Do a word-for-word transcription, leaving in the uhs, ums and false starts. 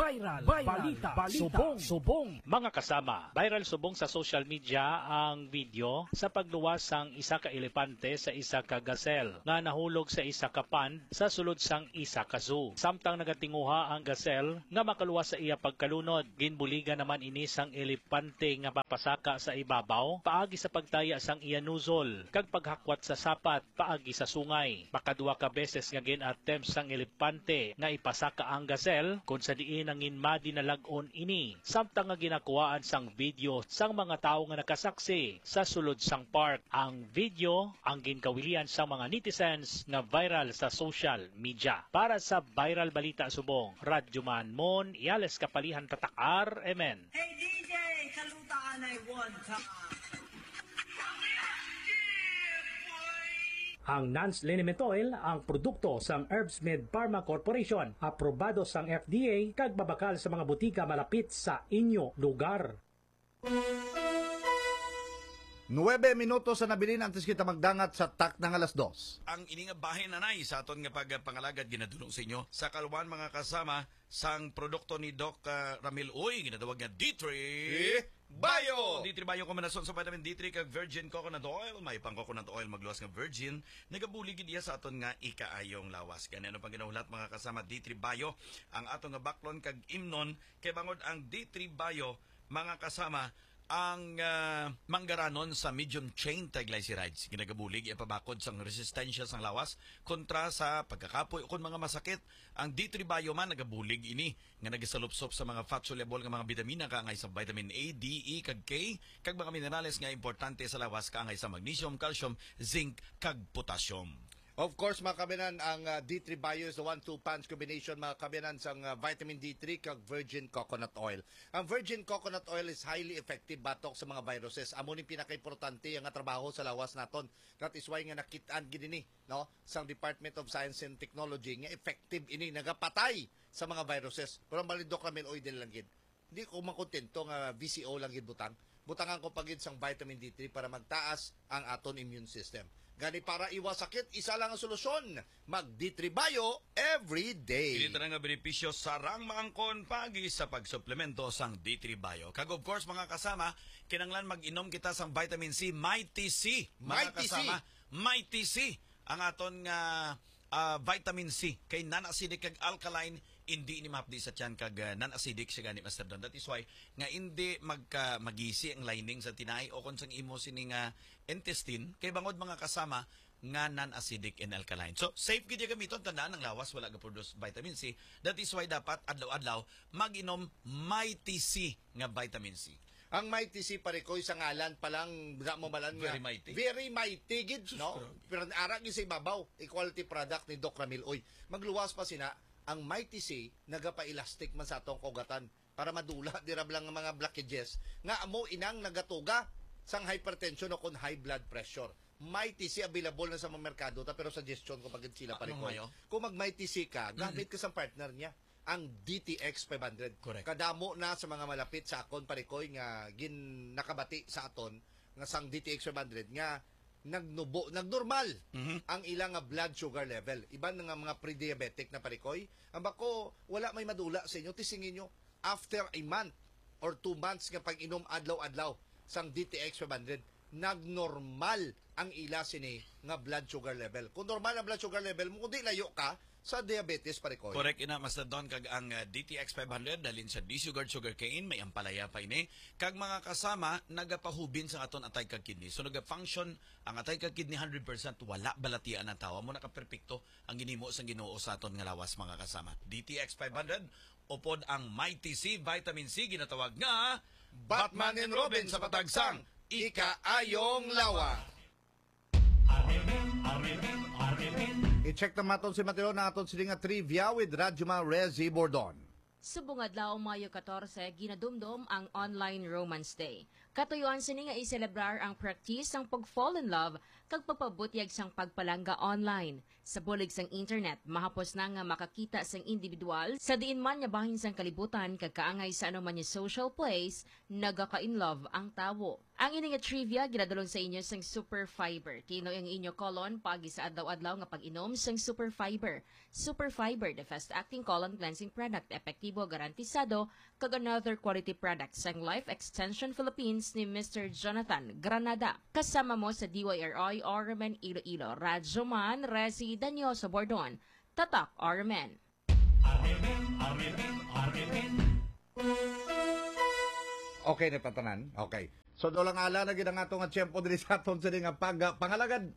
Viral, viral, balita, balita, subong, subong. Mga kasama, viral subong sa social media ang video sa pagluwas sang isa ka elepante sa isa ka gazelle nga nahulog sa isa ka pond sa sulod sang isa ka zoo. Samtang nagatinguha ang gazelle nga makaluwas sa iya pagkalunod, ginbuligan naman ini sang elepante nga mapasaka sa ibabaw paagi sa pagtaya sang iya nozzle kag paghakwat sa sapat paagi sa sungay. Makaduha ka beses nga gin-attempt sang elepante nga ipasaka ang gazelle, kon sa diin nanginmadi na lag-on ini, samtang nga ginakuhaan sang video sang mga tawo nga nakasaksi sa sulod sang park. Ang video ang ginkawilian sang mga netizens nga viral sa social media. Para sa Viral Balita Subong, Radyoman Mon Yales Kapalihan, Tatak R M N. Hey, D J, kalutaan ay one time. Ang Nans Liniment Oil ang produkto sang Herbsmith Pharma Corporation, aprobado sang F D A kag mabakal sa mga butika malapit sa inyo lugar. Nuebe minutos sa nabilin antes kita magdangat sa takna nga alas dos. Ang ini nga bahin, anay, sa aton nga pagpangalagad ginadulong sa inyo sa kalwan, mga kasama, sang produkto ni Doc, ah, Ramil Uy, ginatawag nga D three Bio. D three Bio, kombinasyon sa vitamin D three kag virgin coconut oil. May pang coconut oil, magluwas nga virgin, nagabulig gid iya sa aton nga ikaayong lawas. Gani, ano pang ginahulat, mga kasama, D three Bio ang ato nga baklon kag imnon, kay bangod ang D three Bio, mga kasama, ang, ah, manggaranon sa medium chain triglycerides. Ginagabulig iya pabakod sang resistensya sang lawas kontra sa pagkakapoy ukon mga masakit. Ang D three Bio man nagabulig ini nga nagasalupsop sa mga fat-soluble nga mga bitamina kaangay sa vitamin A, D, E, kag K, kag mga minerales nga importante sa lawas kaangay sa magnesium, calcium, zinc, kag potassium. Of course, mga kaabyanan, ang, ah, D three Bio is the one two punch combination, mga kaabyanan, sang, ah, vitamin D three kag virgin coconut oil. Ang virgin coconot oil is highly effective batok sa mga viruses. Amo ni pinakaimportante nga trabaho sa lawas naton. That is why nga nakit-an gid ini, no, sang Department of Science and Technology nga effective ini, nagapatay sa mga viruses. Pero ang balidok namin, oy, dili lang gid. Di ko makontento nga V C O lang gid butang. Butangan ko pa gid sang vitamin D three para magtaas ang aton immune system. Gani, para iwas sakit, isa lang ang solusyon. Mag D three Bio every day. Kini tanan nga benepisyo sarang maangkon paagi sa pagsuplemento sang D three Bio. Kag of course, mga kasama, kinahanglan mag-inom kita sang vitamin C, Mighty C. Mga Mighty C. Kasama, Mighty C ang aton nga, ah, vitamin C. Kay non-acidic kag alkaline, indi ni mahapdi sa tiyan kag, ah, non-acidic siya gani, Master Don. That is why nga indi magka-, magisi ang lining sa tinai o kon sang imo sini nga intestine. Kay bangod, mga kasama, nga non-acidic and alkaline. So, safe gid iya gamiton. Tandaan, ang lawas wala ga-produce vitamin C. That is why dapat adlaw-adlaw mag-inom Mighty C nga vitamin C. Ang Mighty C, pare ko, sa ngalan pa lang, wala mo malan nga. Very mighty. Very mighty gid, sus, no? Grabe. Pero ara gid sa ibabaw, quality product ni Doc Ramil. Uy, magluwas pa sina, ang Mighty C nagapa-elastic man sa atong kaugatan para madula dira lang ang mga blockages nga amo inang nagatuga sang hypertension o kon high blood pressure. Mighty C available na sa mga merkado ta, pero suggestion ko pagid sila, pare ko. Kung mag Mighty C ka, gamit ka sa partner niya, ang D T X five hundred. Correct. Kadamo na sa mga malapit sa akon, pare ko, nga gin-, nakabati sa aton nga sang D T X five hundred nga nagnubo, nagnormal Mhm. ang ila nga blood sugar level. Iban nga mga pre-diabetic na, pare ko, ang bako, wala may madula sa inyo, tisingin nyo, after a month or two months nga pag-inom adlaw-adlaw sang D T X five hundred, nagnormal ang ila sini nga blood sugar level. Kung normal ang blood sugar level mo, kung di, layo ka sa diabetes, pare ko. Correct ina, Master Don, kag ang, uh, D T X five hundred, dalin sa D-Sugar, sugarcane, may ampalaya pa ini. Kag mga kasama, nagapahubin sa aton atay kag kidney. So, nagafunction ang atay kag kidney hundred percent, wala balatian ang tawa. Mo nakaperpekto ang ginhimo sang Ginoo sa aton nga lawas, mga kasama. D T X five hundred, upod ang Mighty C, vitamin C, ginatawag nga Batman and Robin sa patagsang Ikaayong Lawas. I-check na maton si Mateo na aton sini nga trivia with Radyo Ma Rezi Bordon. Subong adlaw, Mayo katorse, ginadumdom ang Online Romance Day. Katuyuan sini nga i-celebrar ang practice sang pag-fall in love kag pagpabutyag sang pagpalangga online. Sa bulig sang internet, mahapos na nga makakita sang individual sa diin man nga bahin sang kalibutan kag kaangay sa ano man nga social place, nagaka-in love ang tawo. Ang ini nga trivia ginadulong sa inyo sang Super Fiber. Kinoy ang inyo colon paagi sa adlaw-adlaw nga pag-inom sang Super Fiber. Super Fiber, the fast-acting colon cleansing product, epektibo, garantisado, kag another quality product sang Life Extension Philippines ni Mister Jonathan Granada. Kasama mo sa D Y R I R M N Iloilo, Radyo Man, Resi Danyoso Bordon. Tatak R M N. Okay na tatanan. Okay. So, daw lang ala na gid ang ato nga tiyempo diri sa aton sa nga pag pangalagad.